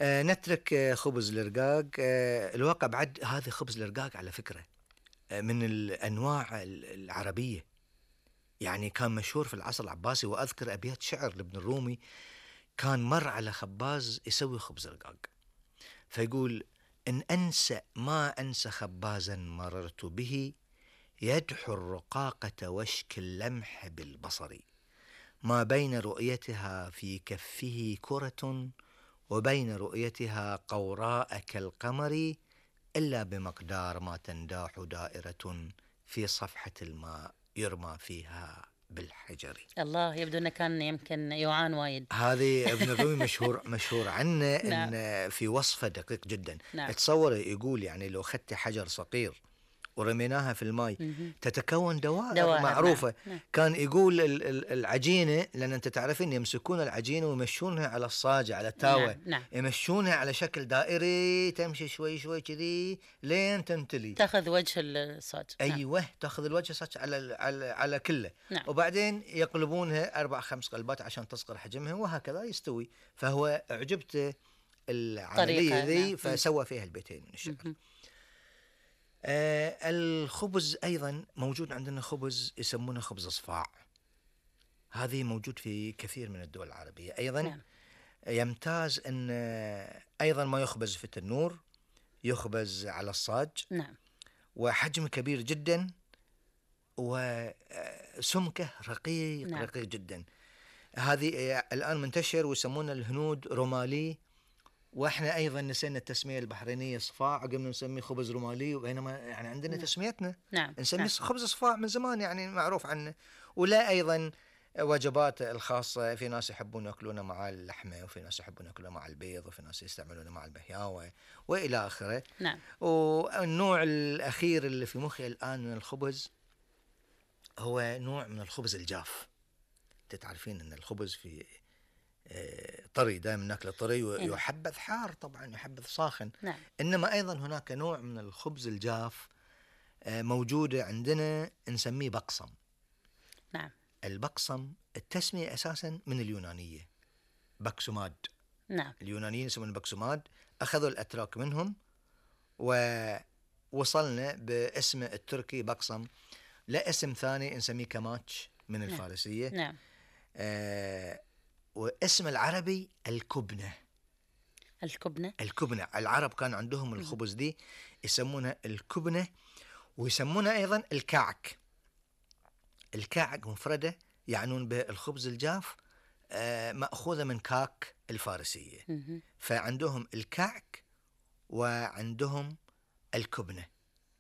نترك خبز الرقاق. الواقع بعد هذا خبز الرقاق على فكرة من الأنواع العربية، يعني كان مشهور في العصر العباسي. وأذكر أبيات شعر لابن الرومي، كان مر على خباز يسوي خبز رقاق فيقول: إن أنسى ما أنسى خبازا مررت به، يدحو الرقاقة وشك اللمح بالبصر، ما بين رؤيتها في كفه كرة، وبين رؤيتها قوراء كالقمر، إلا بمقدار ما تنداح دائرة في صفحة الماء يرمى فيها بالحجر. الله، يبدو أنه كان يمكن يوعان وايد. هذه ابن الرومي مشهور عنه نعم. إن في وصفه دقيق جدا. نعم. تصور يقول يعني لو أخذت حجر صغير ورميناها في الماء تتكون دوائر معروفة. نعم. كان يقول العجينة، لأن أنت تعرفين يمسكون العجينة ويمشونها على الصاجة على التاوة. نعم. يمشونها على شكل دائري، تمشي شوي شوي كذي لين تمتلي، تأخذ وجه الصاج. أيوة. تأخذ الوجه الصاج على كله. نعم. وبعدين يقلبونها 4-5 قلبات عشان تصغر حجمها، وهكذا يستوي. فهو أعجبته العملية ذي، فسوى فيها البيتين من الشعر. الخبز أيضا موجود عندنا، خبز يسمونه خبز صفاع. هذه موجود في كثير من الدول العربية أيضا. نعم. يمتاز أن أيضا ما يخبز في التنور، يخبز على الصاج. نعم. وحجم كبير جدا، وسمكه رقيق. نعم. رقيق جدا. هذه الآن منتشر ويسمونه الهنود رومالي، واحنا ايضا نسينا التسميه البحرينيه صفاع، قمنا نسميه خبز رومالي، وبينما يعني عندنا تسميتنا. نعم. نسميه خبز صفاع من زمان، يعني معروف عنه. ولا ايضا وجبات الخاصه، في ناس يحبون ياكلونه مع اللحمه، وفي ناس يحبون ياكلونه مع البيض، وفي ناس يستعملونه مع البهياوه والى اخره. نعم. والنوع الاخير اللي في مخي الان من الخبز هو نوع من الخبز الجاف. تعرفين ان الخبز في طري، دائما ناكله طري، ويحبذ حار طبعا، يحبذ ساخن. نعم. إنما أيضا هناك نوع من الخبز الجاف موجودة عندنا، نسميه بقصم. نعم. البقصم التسمية أساسا من اليونانية، بكسوماد. نعم. اليونانيين يسمون بكسوماد، أخذوا الأتراك منهم ووصلنا باسم التركي بقصم. لا اسم ثاني نسميه كماتش من الفارسية. نعم. واسم العربي الكبنة. الكبنة العرب كان عندهم الخبز دي يسمونها الكبنة، ويسمونها أيضا الكعك. الكعك مفردة يعنون بالخبز الجاف، مأخوذة من كاك الفارسية. فعندهم الكعك وعندهم الكبنة.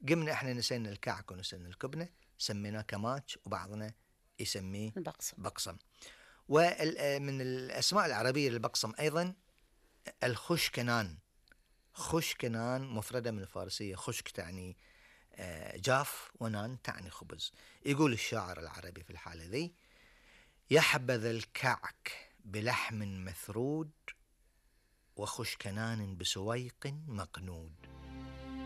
قمنا احنا نسينا الكعك ونسينا الكبنة، سميناه كماتش، وبعضنا يسميه بقصم. ومن الأسماء العربية للبقصم أيضا الخشكنان. خشكنان مفردة من الفارسية، خشك تعني جاف، ونان تعني خبز. يقول الشاعر العربي في الحالة ذي: يحبذ الكعك بلحم مثرود، وخشكنان بسويق مقنود.